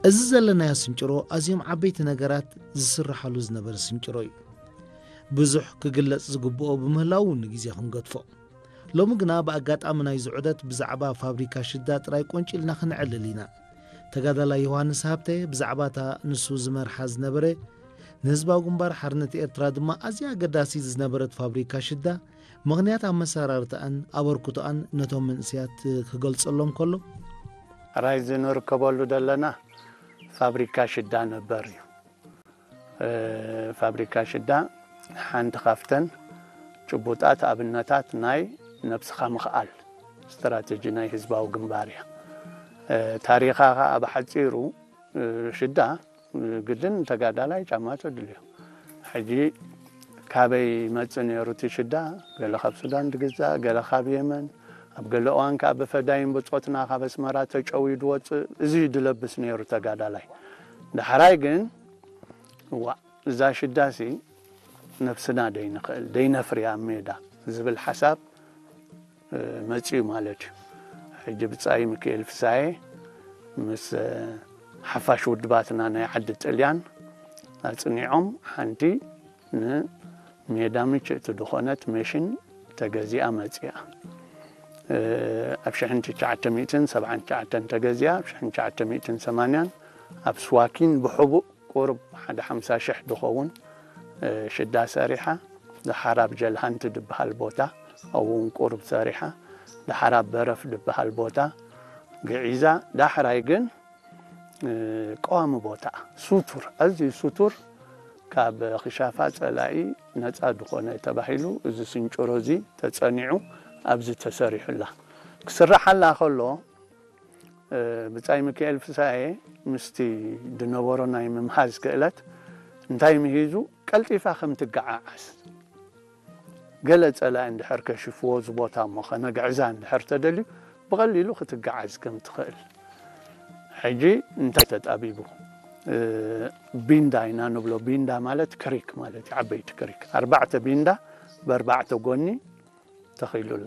እዚ ዘለናዮ ስንጭሮ ኣዝዮም ዓበይቲ ነገራት ዝስርሓሉ ዝነበረ ስንጭሮ እዩ። ብዙሕ ክግለጽ ዝግብኦ ብምህላው ንግዜ ክንገድፎ። ሎሚ ግና ብኣጋጣሚ ናይዚ ዑደት ብዛዕባ ፋብሪካ ሽዳ ጥራይ ቆንጪልና ክንዕልል ኢና። ተጋዳላይ ዮሃንስ ሃብተ ብዛዕባ እታ ንሱ ዝመርሓ ዝነበረ፣ ንህዝባዊ ግንባር ሓርነት ኤርትራ ድማ ኣዝያ ኣገዳሲት ዝነበረት ፋብሪካ ሽዳ፣ ምኽንያት ኣመሰራርታኣን ኣበርክቶኣን ነቶም መንእሰያት ክገልጸሎም ከሎ፣ ሕራይ እዚ ንርከበሉ ዘለና ፋብሪካ ሽዳ ነበር እዩ። እ፣ ፋብሪካ ሽዳ ሓንቲ ካብተን ጭቡጣት ኣብነታት ናይ ነብስኻ ምኽኣል ስትራተጂ ናይ ህዝባዊ ግንባር እያ። እ፣ ታሪኻ ኸኣ ብሓጺሩ፣ እ፣ ሽዳ፣ እ፣ ግድን ተጋዳላይ ጫማ ተድልዮ። ሕጂ ካበይ ይመጽእ ነይሩ እቲ ሽዳ? ገለ ካብ ሱዳን ድግዛእ፣ ገለ ካብ የመን፣ ኣብ ገለ እዋን ከኣ ብፈዳይን ብጾትና ካብ ኣስመራ ተጨውዩ ድወጽእ፣ እዚ እዩ ድለብስ ነይሩ ተጋዳላይ። ዳሕራይ ግን፣ እዋእ፣ እዛ ሽዳሲ ነብስና ደይንኽእል፣ ደይነፍርያ ኣብ ሜዳ ዝብል ሓሳብ፣ እ፣ መጺኡ ማለት እዩ። ሕጂ ብጻይ ሚካኤል ፍሳዬ ምስ፣ እ፣ ሓፋሽ ውድባትና ናይ ዓዲ ጥልያን ኣጽኒዖም ሓንቲ ንሜዳ ምችእቲ ዝኾነት መሽን ተገዚኣ መጺኣ። እ፣ ኣብ ሽሕን ትሽዓተ ሚእትን ሰብዓን ትሽዓተን ተገዚኣ፣ ኣብ ሽሕን ትሽዓተ ሚእትን ሰማንያን ኣብ ስዋኪን ብሕቡእ ቁሩብ ሓደ ሓምሳ ሽሕ ድኸውን፣ እ፣ ሽዳ ሰሪሓ። ደሓር ኣብ ጀልሃንቲ ድበሃል ቦታ ኣብኡ እውን ቁሩብ ሰሪሓ። ደሓር ኣብ በረፍ ድበሃል ቦታ ግዒዛ። ዳሕራይ ግን፣ እ፣ ቀዋሚ ቦታ ስቱር፣ ኣዝዩ ስቱር፣ ካብ ክሻፋ ጸላኢ ነጻ ድኾነ ተባሂሉ እዚ ስንጭሮ እዚ ተጸኒዑ ኣብዚ ተሰሪሑላ። ክስራሓላ ከሎ፣ እ፣ ብጻይ ሚካኤል ፍሳዬ ምስቲ ድነበሮ ናይ ምምሃዝ ክእለት እንታይ ምሂዙ፣ ቀልጢፋ ከም ትገዓዓዝ፣ ገለ ጸላኢ እንድሕር ከሽፍዎ እዚ ቦታ እሞ ከነግዕዛ እንድሕር ተደልዩ ብቐሊሉ ክትገዓዝ ከም ትኽእል። ሕጂ እንታይ ተጣቢቡ? እ፣ ቢንዳ ኢና ንብሎ። ቢንዳ ማለት ክሪክ ማለት እዩ፣ ዓበይቲ ክሪክ። ኣርባዕተ ቢንዳ ብኣርባዕተ ጎኒ ተኺሉላ።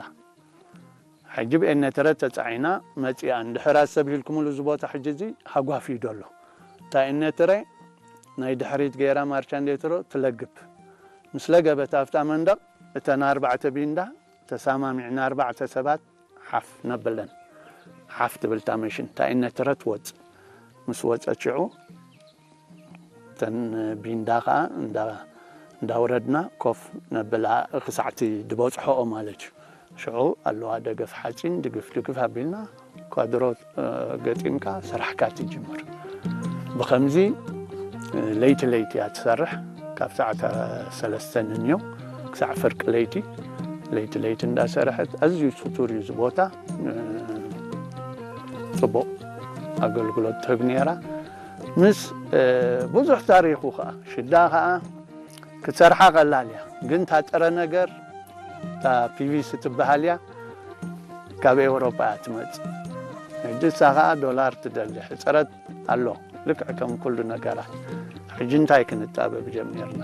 ሕጂ ብኤነትረ ተጻዒና መጺኣ። እንድሕር ኣሰብ ሂልኩምሉ እዚ ቦታ ሕጂ እዚ ሃጓፍ እዩ ደሎ። እታ ኤነትረ ናይ ድሕሪት ገይራ ማርቻንዴትሮ ትለግብ። ምስ ለገበት ኣብታ መንደቕ እተን ኣርባዕተ ቢንዳ ተሰማሚዕና ኣርባዕተ ሰባት ሓፍ ነብለን። ሓፍ ትብል እታ መሽን፣ እታ ኤነትረ ትወጽእ። ምስ ወጸት ሽዑ እተን ቢንዳ ኸኣ እንዳ-፣ እንዳውረድና ኮፍ ነብላ ክሳዕቲ ድበጽሖኦ ማለት እዩ። ሽዑ ኣለዋ ደገፍ ሓጺን ድግፍ ድግፍ ኣቢልና ኳድሮ፣ እ፣ ገጢምካ ስራሕካ ትጅምር። ብኸምዚ፣ እ፣ ለይቲ ለይቲ እያ ትሰርሕ። ካብ ሰዓት ሰለስተ ንንዮ ክሳዕ ፍርቂ ለይቲ፣ ለይቲ ለይቲ እንዳሰርሐት፣ ኣዝዩ ስቱር እዩ እዚ ቦታ። እ፣ ጽቡቕ ኣገልግሎት ትህብ ነይራ። ምስ፣ እ፣ ብዙሕ ታሪኹ ኸኣ፣ ሽዳ ኸኣ ክትሰርሓ ቀላል እያ፣ ግን እታ ጥረ ነገር፣ እታ ፒቪሲ ትበሃል እያ፣ ካብ ኤውሮጳ እያ ትመጽእ። ሕጂ እሳ ኸኣ ዶላር ትደሊ፣ ሕጽረት ኣሎ፣ ልክዕ ከም ኩሉ ነገራት። ሕጂ እንታይ ክንጣበብ ጀሚርና?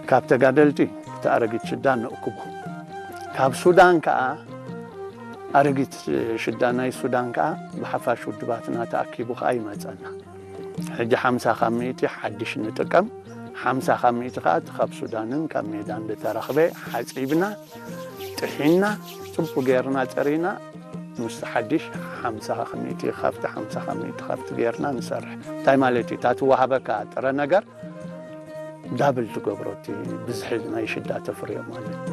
ካብ ተጋደልቲ እቲ ኣረጊት ሽዳ ነእክቦ። ካብ ሱዳን ከኣ ኣረጊት ሽዳ ናይ ሱዳን ከኣ ብሓፋሽ ውድባትና ተኣኪቡ ከኣ ይመጸና። ሕጂ ሓምሳ ካብ ሚእቲ ሓድሽ ንጥቀም፣ ሓምሳ ካብ ሚእቲ ከኣ እቲ ካብ ሱዳንን ካብ ሜዳን ዝተረኽበ ሓጺብና፣ ጥሒና፣ ጽቡቕ ጌርና ጸሪና፣ ምስ ሓድሽ ሓምሳ ካብ ሚእቲ ካብቲ፣ ሓምሳ ካብ ሚእቲ ካብቲ ጌርና ንሰርሕ። እንታይ ማለት እዩ? እታ ትወሃበካ ጥረ ነገር ዳብል ትገብሮ፣ እቲ ብዝሒ ናይ ሽዳ ተፍርዮ ማለት እዩ።